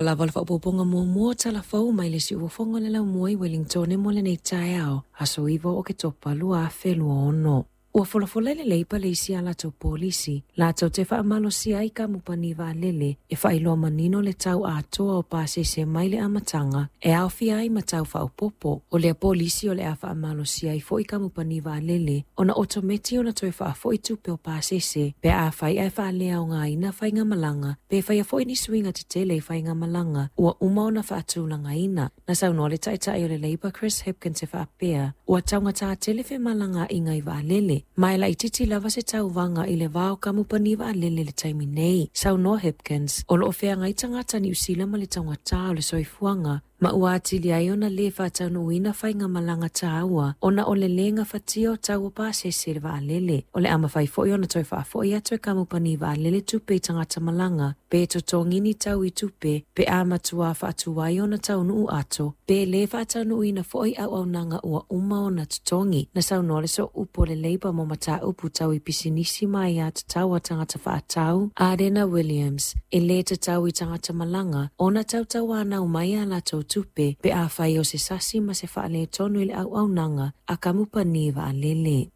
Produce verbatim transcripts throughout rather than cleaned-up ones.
Lava o le faaopoopoga muamua o Tala Fou mai le siufofoga o le laumua i Wellington mo lenei taeao, aso iva o Oketopa lua afe lua ono. Ua folafola e le Leipa le isi a latou polisi, latou te faamalosia ai kamupani vaalele e faailoa manino le tau atoa o pasese mai le amataga e aofia ai ma tau faaopoopo. O lea polisi o le a faamalosia ai foi kamupani vaalele ona otometi ona toe faafoi tupe o pasese pe afai ae faaleaogaina faigamalaga pe faia foi ni suiga tetele i faigamalaga ua uma ona faatulagaina. Na saunoa le taitai o le Leipa Chris Hipkins e faapea, ua taugata tele femalagaaiga i vaalele, ma e laitiiti lava se tauvaga i le va o kamupani vaalele i le taimi nei. Saunoa Hipkins, o loo feagai tagata Niu Sila ma le taugata o le soifuaga, ma ua atili ai ona lē faataunuuina faigamalaga taua ona o le lē gafatia o tau o pasese i le vaalele. O le a mafai foi ona toe faafoi atu e kamupani vaalele tupe i tagata malaga pe totogi ni tau i tupe pe a matua faatuai ona taunuu ato pe lē faataunuuina foi auaunaga ua uma ona totogi. Na saunoa le sooupu o le Leipa mo mataupu tau i pisinisi ma aiā tatau a tagata faatau Adena Williams e lē tatau i tagata malaga ona tautauanau mai a latou tupe pe afai o se sasi ma se faaletonu i le auaunaga a kamupani vaalele.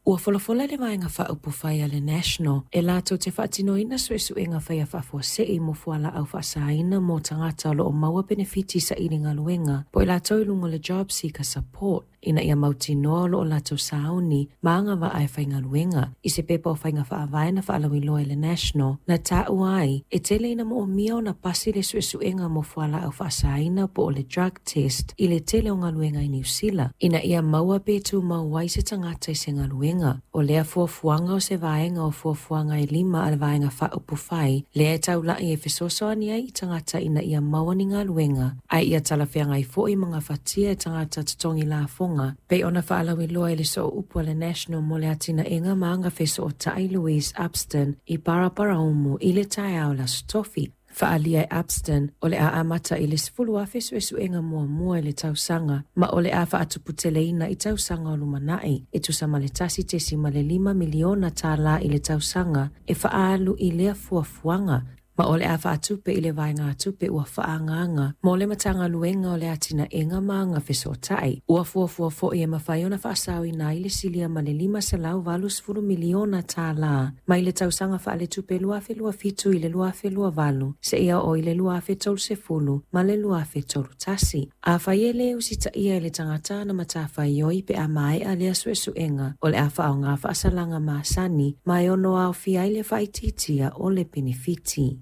Ua folafola le vaega faaupufai a le National e latou te faatinoina suesuega faia faafuasei mo fualaau faasaina mo tagata o loo maua penefiti saili galuega po o i latou i luga o le Job Seeker Support ina ia mautinoa o loo latou sauni ma agavaa e faigaluega. I se pepa o faiga faavae na faalauiloa e le National na taua ai e tele ina moomia ona pasi le suesuega mo fualaau faasaina po o le drug test i le tele o galuega i Niu Sila ina ia maua pe tumau ai se tagata i se galuega. O lea fuafuaga o se vaega o fuafuaga e lima a le vaega faaupufai lea e taulai e fesoasoani ai i tagata ina ia maua ni galuega ae ia talafeagai foi ma gafatia e tagata totogi lafoga pei ona faalauiloa e le sooupu a le National mo le atinaega ma agafesootai Louise Upston i Paraparaumu i le taeao le Aso Tofi. Faaalia e Upston o le a amata i le sefulu afe suesuega muamua i le tausaga ma o le a faatuputeleina i tausaga o lumanai e tusa ma le tasi tesima le lima miliona tālā i le tausaga e faaalu i lea fuafuaga ma o le a faatupe i le vaegatupe ua faaagaaga mo le Matagaluega o le Atinaega ma Agafesootai. Ua fuafua foi e mafai ona faasaoina ai le silia ma le lima selau valusefulu miliona tālā mai le tausaga faaletupe lua afe lua fitu i le lua afe lua valu seia oo i le lua afe tolusefulu ma le lua afe tolu tasi. Afai e lē usitaia e le tagata ana matafaioi pe a maea lea suesuega, o le a faaaoga faasalaga masani ma e ono aofia ai le faaitiitia o le penefiti.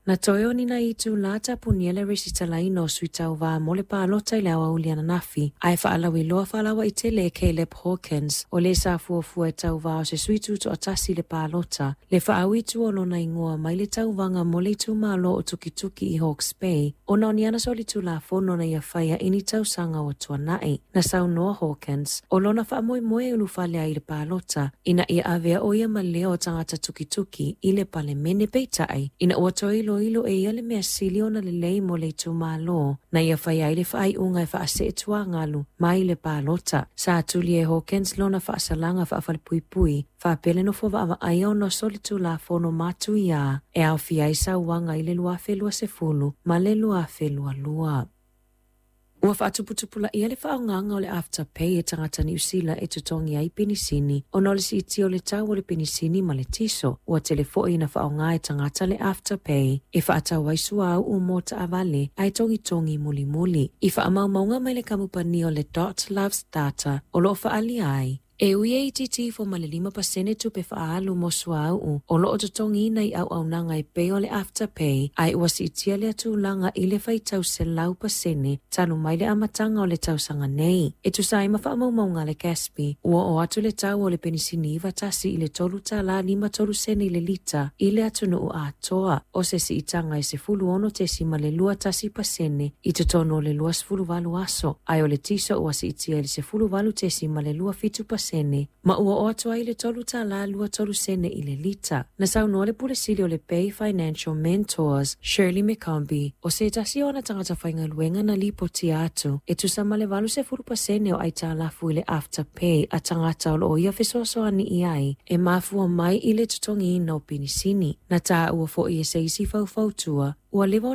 Na toe o ni nai itulā tapunia le resitalaina o sui tauvā mo le palota i le aoauli ananafi, ae faalauiloa faalauaitele e Caleb Hawkins o le sa fuafua e tauvā o se sui tutoatasi i le palota, le faaui i tua o lona igoa mai le tauvaga mo le itumalo o Tukituki i Hawke's Bay, ona o ni ana solitulafono na ia faia i ni tausaga ua tuanai. Na saunoa Hawkins, o lona faamoemoe e ulufale ai i le palota, ina ia avea o ia ma leo o tagata Tukituki i le palemene peitai, ina ua toe iloilo e ia le mea sili ona lelei mo le itumalo, na ia faia ai le faaiuga e faaseetuagalu mai le palota. Sa tuli e Hawkins lona faasalaga faafalepuipui, faapea le nofo vaavaaia ona o solitulafono matuia e aofia ai sauaga i le lua afe luasefulu ma le lua afe lualua. Ua faatuputupulaia le faaaogaga o le Afterpay e tagata Niu Sila e totogi ai penisini ona o le siitia o le tau o le penisini ma le tiso. Ua tele foi ina faaaoga e tagata le Afterpay e faatau ai suauu mo taavale ae togitogi mulimuli. I faamaumauga mai le kamupani o le Dot Loves Data o loo faaalia ai, e ui e itiiti ifo ma le lima pasene tupe faaalu mo suauu o loo totogiina i auaunaga e pei o le Afterpay, ae ua siitia lea tulaga i le faitau selau pasene talu mai le amataga o le tausaga nei. E tusa ai ma faamaumauga a le Gaspy, ua oo atu le tau o le penisini iva tasi i le tolu tālā lima tolu sene i le lita i le atunuu atoa, o se siitaga e sefulu ono tesima le lua tasi pasene i totonu o le luasefulu valu aso, ae o le tiso ua siitia i le sefulu valu tesima le lua fitu pasene ma ua oo atu ai le tolu tālā lua tolu sene i le lita. Na saunoa le pule sili o le Bay Financial Mentors, Shirley McCombie, o se tasi o ana tagata faigaluega na lipotia atu e tusa ma le valusefulu pasene o aitalafu i le Afterpay a tagata o loo ia fesoasoani i ai e mafua mai i le totogiina o penisini. Na taua foi e se isi faufautua ua leva